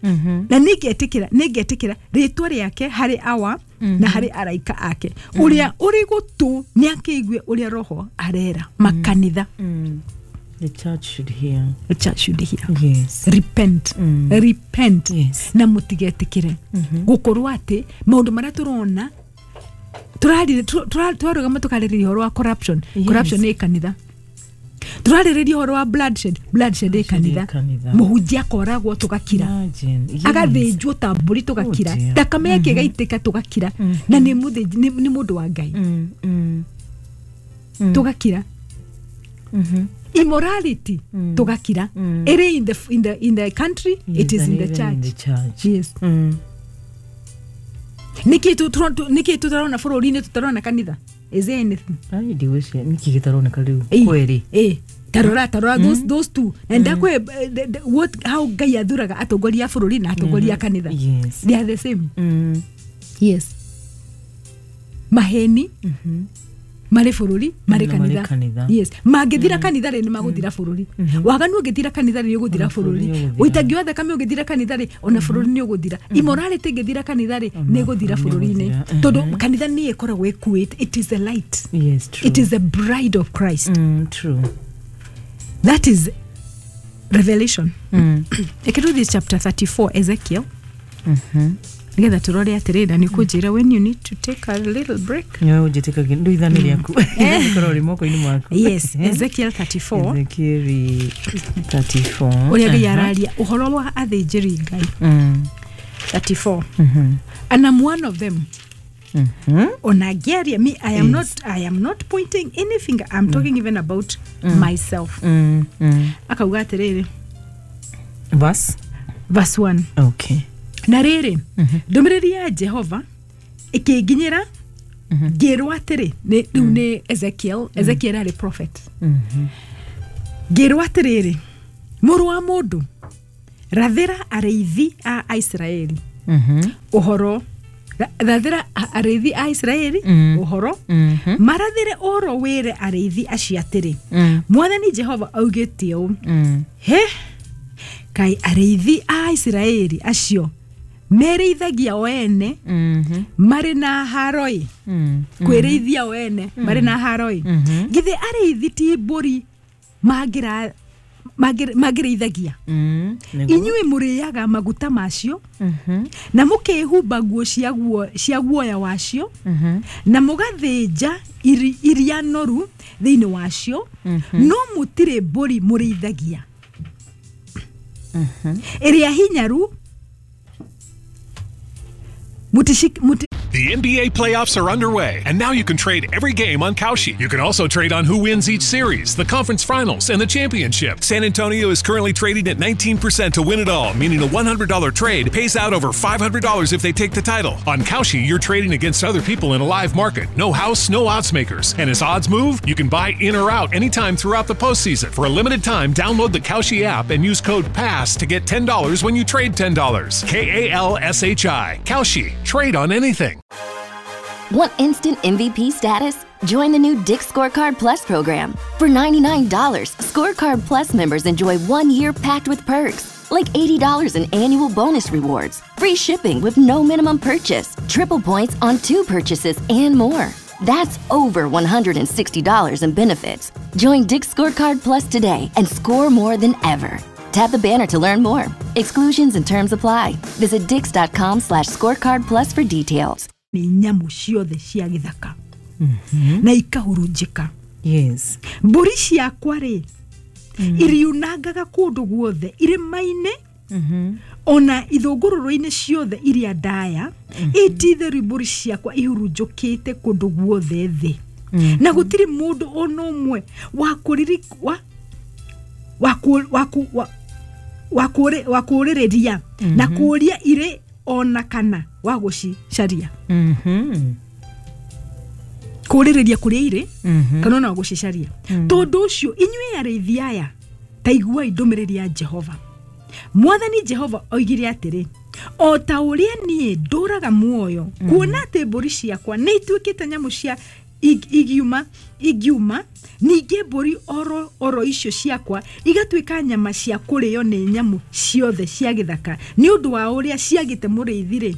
Mhm. na nĩ ngetĩkĩra nĩ ngetĩkĩra rĩtwa rĩake harĩ awa na harĩ araika ake. Ũrĩa ũrĩ gũtũ nĩ akĩigue ũrĩa Roho arera makanitha. Mm. The church should hear. The church should hear. Yes. Repent. Mm. Repent. Yes. Na mũtigetĩkĩre gũkorwo atĩ maũndũ marĩa tũrona tũrarire twarũgama tũkarĩrĩria ũhoro wa corruption. Yes. Corruption nĩ kanitha. Tũrarĩrĩria ũhoro wa bloodshed. Bloodshed ĩ kanitha. Kanitha. Mũhunjia akoragwo, tũgakira. Imagine. Yes. Agathĩnjwo ta mbũri, tũgakira. Oh dear. Thakame yake ĩgaitĩka, tũgakira, na nĩ mũthĩnji- nĩ nĩ mũndũ wa Ngai. Mm. Mm. Tũgakira. Mhm. Immorality, tũgakira. Ĩrĩ in the, in the, in the country. Yes, It is and in the even church. in the church. Yes. Mm. Nĩkĩ nĩkĩ tũtarona bũrũri-inĩ tũtarona kanitha? Is there anything? Ai ndiwĩcie nĩkĩ gĩtaroneka rĩu Ĩĩ. kweri. Ĩĩ, tarora tarora those those two na ndakwe what how Ngai athuraga atongoria a bũrũri na atongoria a kanitha. Yes. They are the same. Mm. Yes, maheni marĩ bũrũri, marĩ Na marĩ kanitha. Kanitha. Yes, mangĩthira kanitha rĩ, nĩ magũthira bũrũri. Waganu ũngĩthira kanitha rĩ, nĩ ũgũthira Ona bũrũri bũrũri. nĩ ũgũthira. Ũitangi wa thakame ũngĩthira kanitha rĩ, ona bũrũri nĩ ũgũthira. Immorality ĩngĩthira kanitha rĩ, nĩ ĩgũthira bũrũri nĩ bũrũri-inĩ, ũgũthira. Tondũ kanitha nĩ ĩkoragwo ĩkuĩte, it is the light. Yes, true. It is the bride of Christ. Mm, true. That is Revelation. Mm. Reke tũthiĩ chapter thirty-four, Ezekiel, Mhm. nĩgetha tũrore atĩrĩrĩ, na nĩ kũnjĩra when you need to take a little break. Nĩwe ũnjĩtĩkagia ndũ ithani rĩaku rĩkorwo rĩ moko-inĩ maku. Yes, Ezekiel thirty-four. Ezekiel thirty-four. Ũrĩa Ngai Aha. araria ũhoro wa athĩnjĩri Ngai. Mm. thirty-four. Mhm. And I'm one of them. Mhm. Ona ngĩaria, me, I am Yes. not, I am not pointing any finger. I'm talking even about myself. Mm. Mm. Akauga atĩrĩrĩ, Verse? Verse one. Okay. Na rĩrĩ, ndũmĩrĩri ya Jehova ĩkĩnginyĩra ngĩrwo atĩrĩ, nĩ- rĩu nĩ Ezekiel. Ezekiel arĩ prophet. Mhm. Ngĩrwo atĩrĩrĩ, mũrũ wa mũndũ, rathĩra arĩithi a Aisiraeli Mhm. ũhoro. Ra- rathĩra a- arĩithi a Isiraeli Mm. ũhoro. Mhm. Marathĩre ũhoro, wĩre arĩithi acio atĩrĩ, Mm. Mwathani Jehova augĩte ũũ, Mm. he kaĩ arĩithi a Isiraeli acio merĩithagia o ene Mhm. marĩ na haroi, Mm. kwĩrĩithia o ene marĩ na haroi? Mhm. Githĩ arĩithi ti mbũri mangĩra- mangĩrĩ- mangĩrĩithagia? Mm. Nĩguo. Inyuĩ mũrĩaga maguta macio Mhm. na mũkehumba nguo cia guo- cia guoya wacio Mhm. na mũgathĩnja iri- iria noru thĩinĩ wacio, no mũtirĩ mbũri mũrĩithagia ĩrĩa hinyaru mũtici- mũti The N B A playoffs are underway, and now you can trade every game on Kalshi. You can also trade on who wins each series, the conference finals, and the championship. San Antonio is currently trading at nineteen percent to win it all, meaning a one hundred dollar trade pays out over five hundred dollars if they take the title. On Kalshi, you're trading against other people in a live market. No house, no odds makers. And as odds move, you can buy in or out anytime throughout the postseason. For a limited time, download the Kalshi app and use code PASS to get ten dollars when you trade ten dollars. K A L S H I. Kalshi. Trade on anything. Want instant M V P status? Join the new Dick's Scorecard Plus program. For ninety-nine dollars, Scorecard Plus members enjoy one year packed with perks, like eighty dollars in annual bonus rewards, free shipping with no minimum purchase, triple points on two purchases, and more. That's over one hundred sixty dollars in benefits. Join Dick's Scorecard Plus today and score more than ever. Tap the banner to learn more. Exclusions and terms apply. Visit dicks dot com slash scorecard plus for details. Nĩ nyamũ ciothe cia gĩthaka na ikahurunjĩka. Yes. Mbũri ciakwa rĩ, iriunangaga kũndũ guothe irĩma-inĩ ona ithũngũrũrũ-inĩ ciothe iria ndaya. Ĩtitherũ mbũri ciakwa ihurunjũkĩte kũndũ guothe thĩ, na gũtirĩ mũndũ ona ũmwe wa kũriri- wa- wa kũ- wa kũ- wa- wa kũrĩ- wa kũrĩrĩria na kũũria irĩ ona kana wa gũcicaria. Mhm. Kũrĩrĩria kũrĩa irĩ Mhm. kana ona gũcicaria. Tondũ ũcio, inyuĩ arĩithi aya, ta iguai ndũmĩrĩri ya Jehova. Mwathani Jehova oigire atĩrĩ, o ta ũrĩa niĩ ndũraga muoyo, kuona atĩ mbũri ciakwa nĩ ituĩkĩte nyamũ cia ig- igiuma ingiuma, ningĩ mbũri oro, oro icio ciakwa igatuĩka nyama cia kũrĩo nĩ nyamũ ciothe cia gĩthaka nĩ ũndũ wa ũrĩa ciagĩte mũrĩithi-rĩ,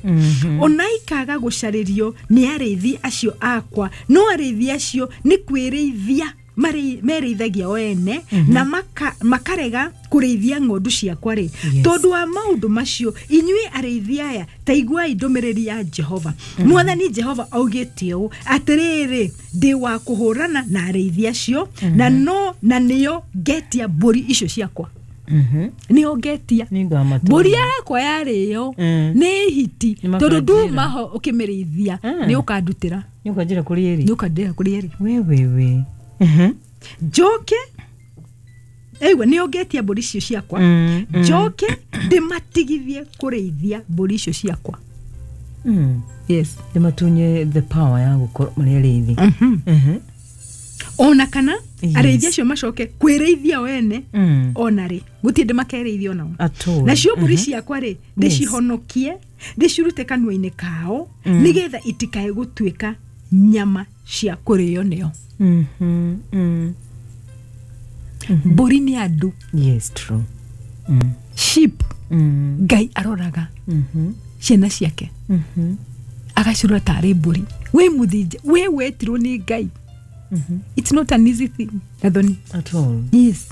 ona ikaga gũcarĩrio nĩ arĩithi acio akwa, no arĩithi acio nĩ kwĩrĩithia marĩ- merĩithagia o ene na maka, makarega kũrĩithia ng'ondu ciakwa rĩ, Yes. tondũ wa maũndũ macio, inyuĩ arĩithi aya, ta iguai ndũmĩrĩri ya Jehova. Mwathani Jehova augĩte ũũ, atĩrĩrĩ, ndĩ wa kũhũrana na arĩithi acio, na no na nĩo ngetia mbũri icio ciakwa, Mhm. nĩo ngetia. Nĩngamatũma. Mbũri yakwa yarĩo Mm. nĩ hiti, Nĩmakanjĩra. tondũ nduma ho ũkĩmĩrĩithia, Mm. nĩ ũkandutĩra. Nĩũkanjĩra kũrĩa ĩrĩ. Nĩ ũkandutĩra kũrĩa ĩrĩ. We we we. Mhm. Njoke aigua nĩo ngetia mbũri icio ciakwa, Mm, mm. njoke ndĩmatigithie kũrĩithia mbũri icio ciakwa. Mm. Yes. Ndĩmatunye the power ya gũkorwo marĩ arĩithi. Mhm. Ona kana Yes. arĩithi acio macoke kwĩrĩithia o ene. Mm. Ona rĩ, gũtirĩ ndĩ makerĩithia onao. At all. Nacio mbũri ciakwa rĩ, ndĩcihonokie, ndĩcirute kanua-inĩ kao, nĩgetha itikae gũtuĩka nyama cia kũrĩo nĩo. Mhm. Mm. Mbũri nĩ andũ. Yes, true. Mm. Sheep. Mm. Ngai aroraga Mhm. ciana ciake, Mhm. agacirora tarĩ mbũri. Wĩ mũthĩnje, wĩ wetirwo nĩ Ngai. It's not an easy thing, Gathoni. At all. Yes.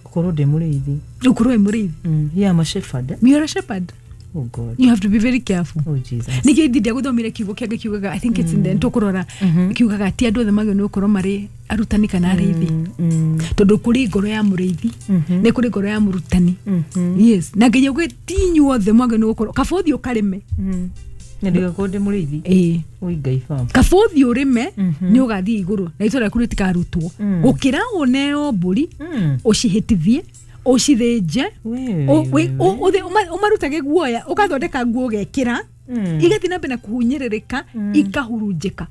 Gũkorwo ndĩ mũrĩithi. Ũkorwo wĩ mũrĩithi. Mm. Yeah, I'm a shepherd. eh? You're a shepherd. Oh God. You have to be very careful. Oh Jesus. Nĩkĩo ithi ndiagũthomire kiugo kĩa Ngai kiugaga, I think it's in the tũkũrora, kiugaga ti andũ othe magĩrĩirwo nĩ gũkorwo marĩ arutani kana arĩithi, Mm. tondũ kũrĩ ngoro ya mũrĩithi, nĩ kũrĩ ngoro ya mũrutani. Yes, na Ngai auge ti inyuothe mwagĩrĩirwo nĩ gũkorwo, kaba ũthiĩ ũkarĩme. Mm. Na ndigakorwo ndĩ mũrĩithi. Ĩĩ. Oi Ngai baba. Kaba ũthiĩ ũrĩme, nĩ ũgathiĩ igũrũ na itũra rĩaku rĩtikarutwo, gũkĩra ũneo mbũri, Mm. ũcihĩtithie, ũcithĩnje, We, ũ- we, wĩ- ũ- ũthĩ- ũma- ũmarutage guoya, ũgathondeka nguo ũgekĩra, Mm. igathiĩ na mbere na kũhunyĩrĩrĩka, ikahurunjĩka,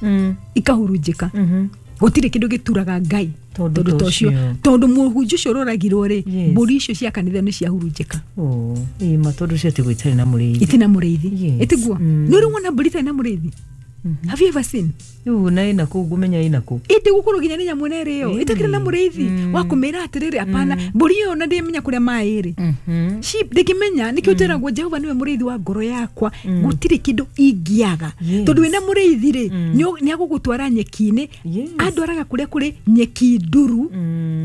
Mm. ikahurunjĩka. Mhm. Gũtirĩ kĩndũ gĩturaga Ngai Tondũ tondũ ta ta ũcio. ũcio. Tondũ mũhunjia ũcio ũroragirwo rĩ, Yes. mbũri icio cia kanitha nĩ ciahurunjĩka. Oh, ĩ ma, tondũ ciatigwo itarĩ na mũrĩithi. Itina mũrĩithi. Yes. Ĩtiguo. Mm. Nĩ ũrĩ wona mbũri itarĩ na mũrĩithi? Have you ever seen? Rĩu na ĩna kũ, ngũmenya ĩna kũ? Ĩndĩ gũkorwo nginya nĩ nyamũ ĩno ĩrĩo Ĩĩ. ĩtakĩrĩ na mũrĩithi wa kũmĩra atĩrĩrĩ, apana, mbũri ĩyo ona ndĩmenya kũrĩa maĩ ĩrĩ. Mhm. Sheep ndĩngĩmenya. Nĩkĩo twĩragwo Jehova nĩwe mũrĩithi wa ngoro yakwa, gũtirĩ kĩndũ ingĩaga. Yes. Tondũ wĩna mũrĩithi rĩ, nĩ agũgũtwara nyeki-inĩ. Yes. Andwaraga kũrĩa kũrĩ nyeki nduru,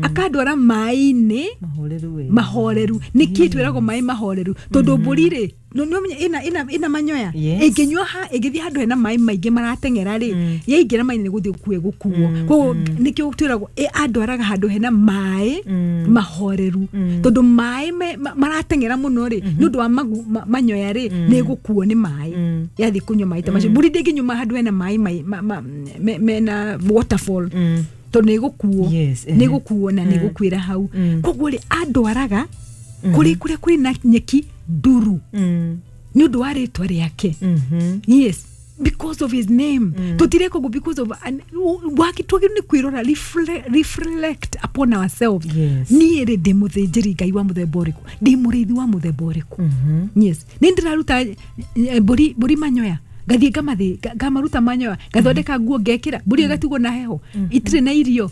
akandwara maĩ-inĩ Mahoreru we. Mahoreru. Nĩkĩ twĩragwo maĩ mahoreru? Tondũ mbũri rĩ, no nĩ ũmenye ĩna ĩna ĩna manyoya. Yes. Ĩngĩnyua ha, ĩngĩthiĩ handũ hena maĩ maingĩ marateng'era rĩ, yaingĩra maĩ nĩ gũthiĩ gũkue gũkuo. Koguo nĩkĩo twĩragwo ĩ- andwaraga handũ hena maĩ mahoreru, tondũ maĩ me- ma- marateng'era mũno rĩ, nĩ ũndũ wa magu, ma, manyoya rĩ, nĩ ĩgũkuo nĩ maĩ yathiĩ kũnyua maĩ ta macio. Mbũri ndĩngĩnyua handũ hena maĩ mai- ma- ma- me- mena waterfall, tondũ nĩ ĩgũkuo. Yes, nĩ ehe. ĩgũkuo na nĩ ĩgũkuĩra hau. Koguo rĩ, andwaraga kũrĩ kũrĩa kwĩ na nyeki nduru Mm. nĩ ũndũ wa rĩtwa rĩake. Mhm. Yes, because of his name. Tũtireka ũguo because of an- waki. Twagĩrĩirwo nĩ kwĩrora, reflect, reflect upon ourselves. Yes. Niĩ rĩ, ndĩ mũthĩnjĩri Ngai wa mũthemba ũrĩkũ? Ndĩ mũrĩithi wa mũthemba ũrĩkũ? Yes, nĩ ndĩraruta eh, mbũri mbũri manyoya, ngathiĩ ngamathĩ nga- ngamaruta manyoya, ngathondeka nguo ngekĩra, mbũri ĩgatigwo na heho, itirĩ na irio,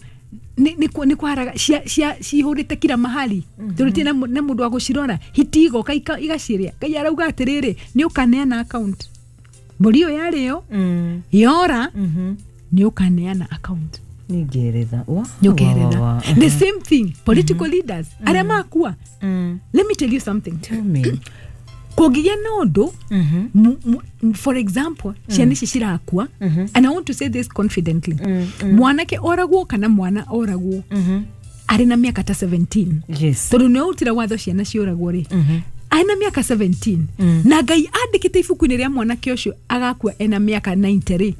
nĩ nĩ kwa- nĩ kwaraga cia cia cihũrĩte kila mahali, tondũ itirĩ na mũ- na mũndũ wa gũcirora. Hiti igoka ika- igacirĩa. Ngai arauga atĩrĩrĩ, nĩ ũkaneana account mbũri ĩyo yarĩo, Mm. yora, Mhm. nĩ ũkaneana account. Nĩ ngeretha. Wa. Nĩ wa, ũkeretha. wa, wa. The same thing, political leaders arĩa makua. Mm. Let me tell you something. Tell me. Kũngĩgĩa na ũndũ, Mhm. mu- mu- for example, ciana ici cirakua, and I want to say this confidently, mwanake oragwo kana mwana oragwo Mhm. arĩ na mĩaka ta seventeen, Yes. tondũ nĩ ũrutire watho ciana ciũragwo rĩ arĩ na mĩaka seventeen, na Ngai andĩkĩte ibuku-inĩ rĩa mwanake ũcio agakua ena mĩaka ninety rĩ,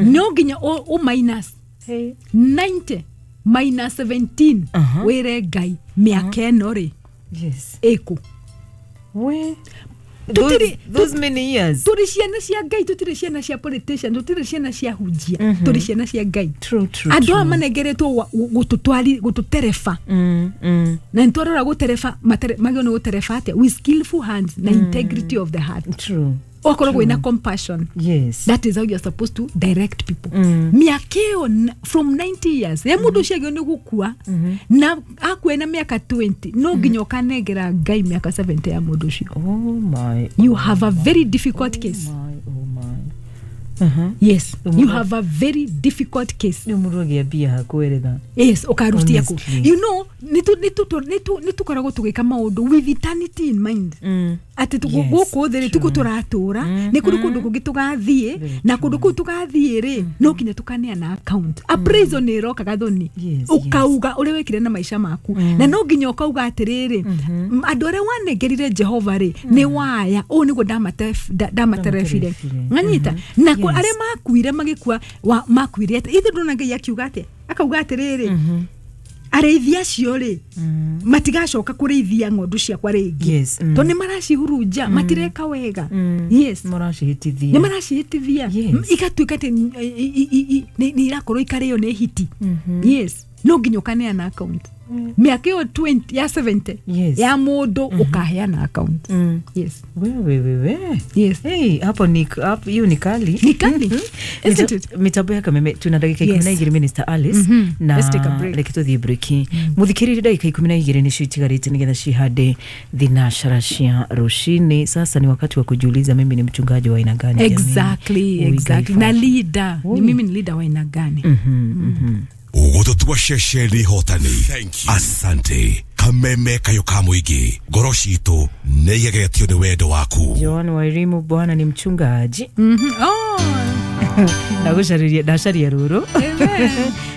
no nginya ũ ũ minus Hey. ninety minus seventeen, Aha. wĩre Ngai mĩaka ĩno rĩ Yes. ĩkũ. We. Tutiri- Those, those many years. Tũrĩ ciana cia Ngai, tũtirĩ ciana cia politician, tũtirĩ ciana cia hunjia, tũrĩ ciana cia Ngai. True, true. Andũ aya true. manengeretwo wa- gũtũtwari gũtũtereba, Mm, mm. na nĩ twarora gũtereba, matere- magĩrĩirwo nĩ gũtereba atĩa? With skillful hands na integrity of the heart. True. Wakorwo wĩna compassion. Yes. That is how you're supposed to direct people. Mm. Mĩaka ĩyo n- from ninety years ya mũndũ ũcio agĩrĩirwo nĩ gũkua na akue na mĩaka twenty, no nginya ũkanengera Ngai mĩaka seventy ya mũndũ ũcio. Oh my. You Oh have a my, very difficult oh case. My, oh my. Uh-huh. Yes, Ũmũndũ- you have a very difficult case. Nĩ mũndũ agĩambia hakweretha. Yes, ũkarutia kũ? Honestly. You know, nĩ tũkoragwo tũgĩka maũndũ with eternity in mind, Mm. atĩ tũ- Yes, gũkũ thĩ rĩ, tuko true. tũratũra, nĩ kũrĩ kũndũ kũngĩ tũgathiĩ, Very na kũndũ kũu tũgathiĩ rĩ, no nginya tũkaneana account. Appraisal nĩ ĩroka, Gathoni. Yes, Ũkauga ũrĩa wekire na maica maku, na no nginya ũkauga atĩrĩrĩ, m- andũ arĩa wanengerire Jehova rĩ, nĩ waya ũũ nĩguo ndamate- nda- ndamaterebire. Ndamaterebire. Ng'anyita na kũ- Yes. arĩa makuire magĩkua wa- makuire atĩa? Ithe ndona Ngai akiuga atĩa? Akauga atĩrĩrĩ, Arĩithi acio rĩ, matigacoka kũrĩithia ng'ondu ciakwa rĩngĩ, Yes, mm. tondũ nĩ maracihurunja, matireka wega. Yes. Maracihĩtithia. Nĩ maracihĩtithia. Yes. Igatuĩka atĩ i- i- i- i- nĩ nĩ irakorwo ikarĩo nĩ hiti. Yes, no nginya ũkaneana account mĩaka ĩyo mĩrongo ĩĩrĩ ya mĩrongo mũgwanja Yes. ya mũndũ, ũkaheana account. Yes. Wewe wewe. Yes. Hey, hapo ni hapo, hiyo ni kali. Ni kali. Isn't it? Mitambo ya Kameme, tuna ndagika ikumi Yes. na igĩrĩ, Minister Alice, Mhm. na Let's take a break. reke tũthiĩ break. Mũthikĩrĩrie, ndagika ikumi na igĩrĩ nĩcio itigarĩte nĩgetha cihande thinashara cia rũcinĩ. Sasa ni wakati wa kujiuliza, mimi ni mchungaji wa aina gani jamani? Exactly. Oi, Exactly. Ngai. Na leader ni mimi ni leader wa aina gani? Ũgũtũtua ceceni hotani. Asante. Kameme kayo ka mũingĩ, ngoro citũ nĩ igegetio nĩ wendo waku. Joan Wairimu, Bwana ni mchungaji. Mhm. Oh. Ndagucariria, ndacaria rũrũ. Amen.